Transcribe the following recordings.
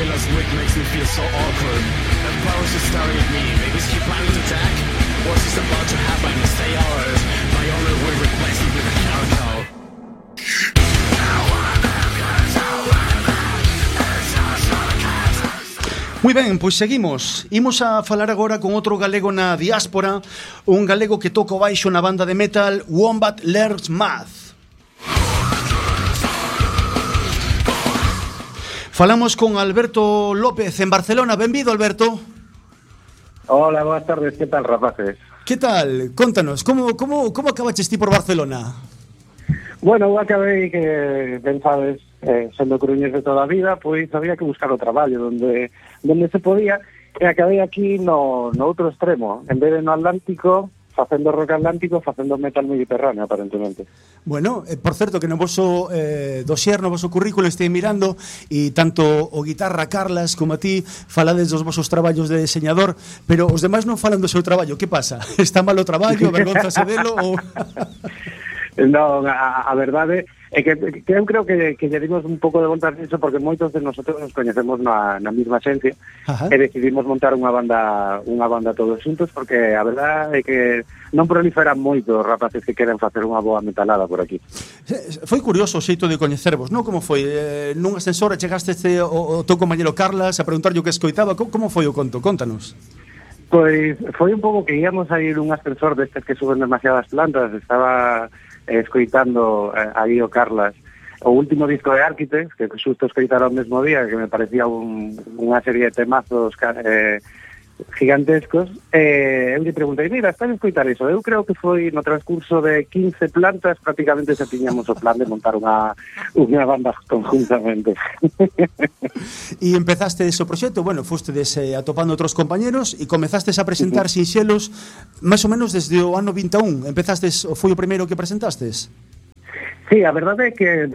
last week makes me feel so awkward. And powers are staring at me. Maybe is he planning to attack? What's this about to happen? Stay alert. My only will replace me with a caracal. Moi ben, pois seguimos. Imos a falar agora con outro galego na diáspora, un galego que toca o baixo na banda de metal Wombat Learns Math. Falamos con Alberto López en Barcelona. Benvido, Alberto. Hola, boas tardes, que tal, rapaces? Que tal? Contanos, como acabaches ti por Barcelona? Bueno, eu acabei que, ben sabes, sendo coruñés de toda a vida, pois había que buscar o traballo onde se podía, e acabei aquí no outro extremo, en vez de no Atlántico, facendo rock atlántico, facendo metal mediterráneo, aparentemente. Bueno, por certo que no voso dossier, no voso currículo estei mirando, e tanto o guitarra Carlas como a ti falades dos vosos traballos de diseñador, pero os demais non falan do seu traballo. Que pasa? Está mal o traballo? Avergonzase delo? Ou... No, a verdade é que eu creo que lle dimos un pouco de volta nisso porque moitos de nosotros nos coñecemos na mesma xencia. Ajá. E decidimos montar unha banda todos xuntos porque a verdade é que non proliferan moito os rapaces que queren facer unha boa metalada por aquí. Foi curioso o xeito de coñecervos, non? Como foi? Nun ascensor chegaste o teu compañero Carlas a preguntarlle o que escoitaba. Como foi o conto? Contanos. Pois foi un pouco que íamos a ir un ascensor destes que suben demasiadas plantas. Estaba escoitando aí o Carlas o último disco de Architects, que xusto escoitara o mesmo día, que me parecía unha serie de temazos gigantescos. Eu lle preguntei, mira, estás a escoitar iso? Eu creo que foi no transcurso de 15 plantas, prácticamente xa tiñamos o plan de montar unha banda conjuntamente. E empezaste ese proxecto, bueno, fostedes atopando outros compañeros e comezastes a presentar sinxelos máis ou menos desde o ano 21. Empezastes, foi o primeiro que presentastes? Sí, a verdade é que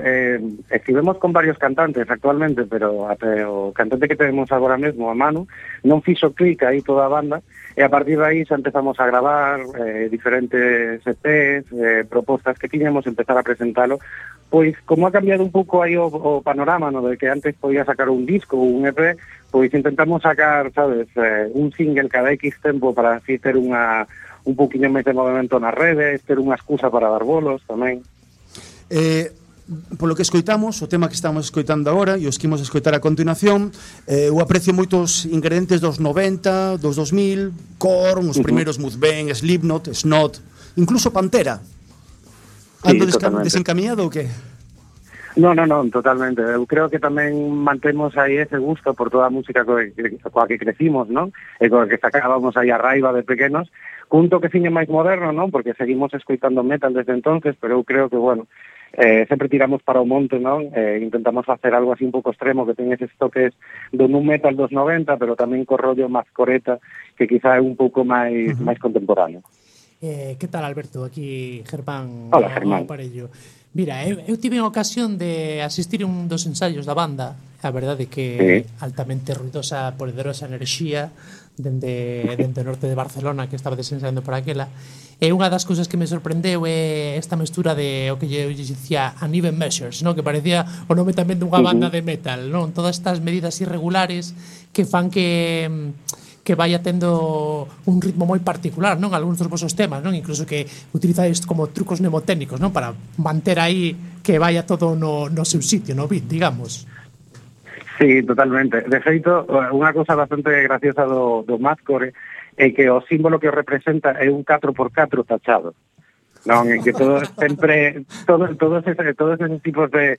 estivemos con varios cantantes actualmente, pero até o cantante que temos agora mesmo, a Manu, non fixo clic aí toda a banda, e a partir de aí xa empezamos a gravar diferentes EPs, propostas que tiñamos, empezar a presentalo. Pois, como ha cambiado un pouco aí o panorama, no, de que antes podía sacar un disco ou un EP, pois intentamos sacar, sabes, un single cada X tempo para así ter un pouquiño máis de movimento nas redes, ter unha excusa para dar bolos tamén. Polo que escoitamos, o tema que estamos escoitando agora e os que imos escoitar a continuación, eu aprecio moitos ingredientes dos 90, dos 2000, Korn, os primeiros Mudvayne, Slipknot, Snot, incluso Pantera. Ando desencaminado ou que? Non, totalmente. Eu creo que tamén mantemos aí ese gusto por toda a música coa que crecimos, non? E coa que sacábamos aí a raiva de pequenos, cun toqueciño máis moderno, non? Porque seguimos escoitando metal desde entonces, pero eu creo que, bueno, sempre tiramos para o monte, non? Intentamos facer algo así un pouco extremo, que ten eses toques do nu metal dos 90, pero tamén co rollo máis coreta, que quizá é un pouco máis contemporáneo. Que tal, Alberto? Aquí Germán. Hola, Germán. Aparello. Mira, eu tive a ocasión de asistir a un dos ensaios da banda. A verdade é que altamente ruidosa, poderosa enerxía dende o norte de Barcelona, que estaba desensaiando por aquela. E unha das cousas que me sorprendeu é esta mestura de o que eu dicía Uneven Measures, non? Que parecía o nome tamén dunha banda de metal, non? Todas estas medidas irregulares que fan que vaya tendo un ritmo moi particular, non? Algúns dos vosos temas, non? Incluso que utilizáis como trucos mnemotécnicos, non? Para manter aí que vaya todo no seu sitio, no beat, digamos. Sí, totalmente. De feito, unha cousa bastante graciosa do Mathcore é que o símbolo que o representa é un 4x4 tachado. Non, en que todos esos tipos de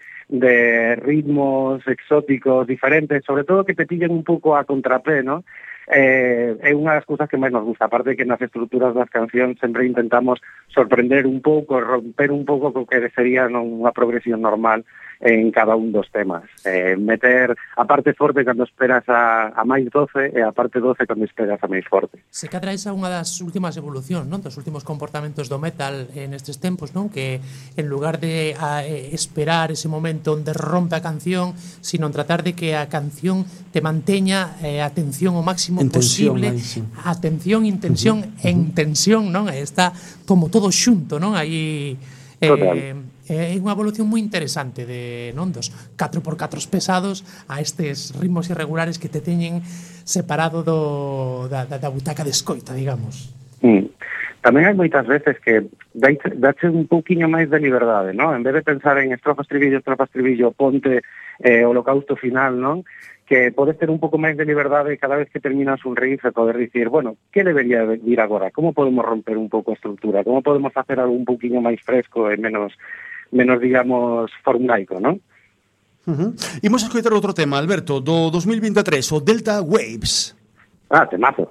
ritmos exóticos diferentes, sobre todo que te pillen un pouco a contrapé, non? É unha das cousas que máis nos gusta, aparte que nas estruturas das cancións sempre intentamos sorprender un pouco, romper un pouco co que sería unha progresión normal en cada un dos temas, meter a parte forte cando esperas a máis 12 e a parte 12 cando esperas a máis forte. Se cadra esa unha das últimas evolucións, non? Dos últimos comportamentos do metal nestes tempos, non? Que en lugar de esperar ese momento onde rompe a canción, sino en tratar de que a canción te manteña a atención o máximo posible, atención, intención e intención, non? Está como todo xunto, non? Aí É unha evolución moi interesante de non dos 4x4 pesados a estes ritmos irregulares que te teñen separado da butaca de escoita, digamos. Tamén hai moitas veces que dache un pouquiño máis de liberdade, non? En vez de pensar en estrofas, estribillo, ponte, holocausto final, non? Que podes ter un pouco máis de liberdade cada vez que terminas un riff e poder dicir, bueno, que debería vir agora? Como podemos romper un pouco a estructura? Como podemos facer algo un pouquiño máis fresco e menos digamos, formulaico, non? Imos a escoitar outro tema, Alberto, do 2023, o Delta Waves. Temazo.